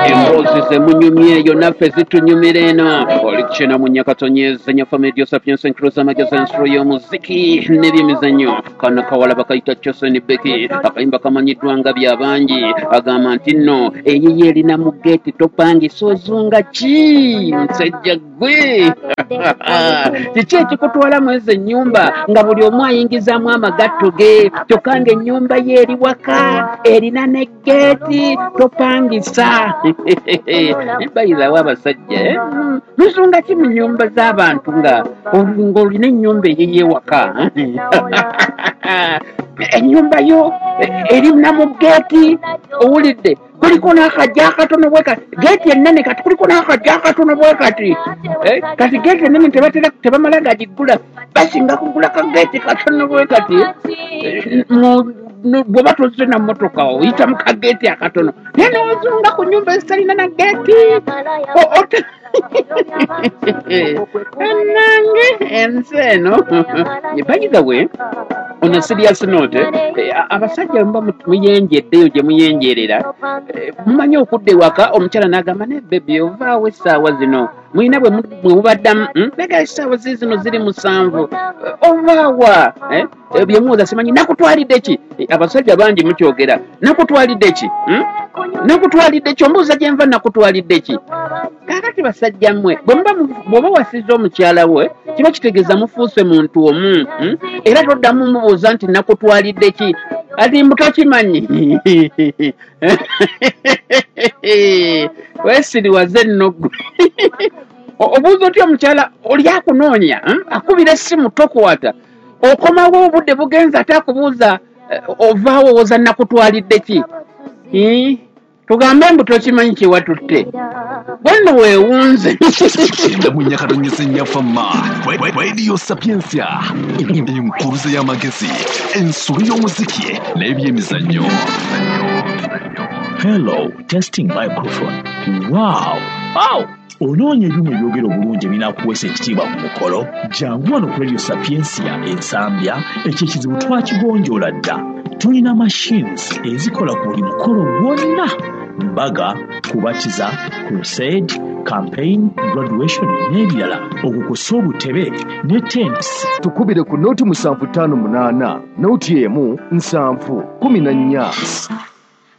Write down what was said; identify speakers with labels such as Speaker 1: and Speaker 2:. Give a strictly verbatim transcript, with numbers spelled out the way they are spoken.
Speaker 1: Emboozi zemunyumye eyo naffe zitunyumira eno. Oli kina mu Nyakatonyeza Nyafa Media Sapiens Encruza amagezi ensolo y'omuziki n'ebyemizannyo. Kano kawala bakayita Chosen Becky, akayimba kamanyiddwa nga byabangi. Agamba nti nno eyiye erina mu geeti topangisa ozunga ki musajja gwe. Kiki ekikutwala mu ezo ennyumba nga buli omu ayingizaamu amagatto ge, kyokka ng'ennyumba ye eri waka erina ne geeti topangisa. Bayirawo abasajja muzunga ki mu nnyumba z'abantu nga ng'olina ennyumba eyiye waka? Ennyumba yo erina mu geeti, owulidde kuliko n'akajja akatono bwe kati, geeti ennene kati kuliko n'akajja akatono bwe kati. Kati geeti ennene tebatera tebamala gagiggula, basinga kugula ka geeti katono bwe kati. Bw'oba tozze na mmotoka oyita mu kageeti akatono, naye n'ozunga ku nnyumba ezitalina na geeti. Ennange ensi eno. By the way, on a serious note, abasajja muba muyenjeddeyo gye muyenjerera, mumanyi okudda ewaka omukyala n'agamba ne bebi ovaawo essaawa zino, mulina bwe mubaddamu naga essaawa zino ziri musanvu, ovaawa bye muwoza simanyi nakutwalidde ki? Abasajja bangi mukyogera, nakutwalidde ki? Nakutwalidde ki? Ombuuza gye nva nakutwalidde ki? Kaakati basajja mmwe bw'oba wasiza omukyala we kiba kitegeeza mufuuse muntu omu, era toddamu mubuuza nti nakutwalidde ki, ati mbu tokimanyi. Weesiriwaze nno ggwe. Obuuza otya omukyala oli akunoonya, akubira essimu tokwata, okomawo obudde bugenze ate akubuuza ovaawo owoza nakutwalidde ki? Tugambe mbu tokimanyi kye watutte, bwenno weewunze.
Speaker 2: Munyakatonyeza Nyafa Radio Sapientia, enkuruza y'amagezi, ensolo y'omuziki n'ebyemizannyo.
Speaker 3: Hello, testing microphone. Wow, wow. Onoonya ebyuma ebyogera obulungi ebinaakuweesa ekitiibwa ku mukolo? Jangu wano ku Radio Sapientia Ensambya, ekyo ekizibu twakigonjoola dda. Tulina machines ezikola ku buli mukolo gwonna: mbaga, kubatiza, crusade, campaign, graduation n'ebirala, okukosa obutebe ne tents.
Speaker 4: Tukubire ku noti musanvu ttaano munaana noti emu nsanvu kumi na nnya.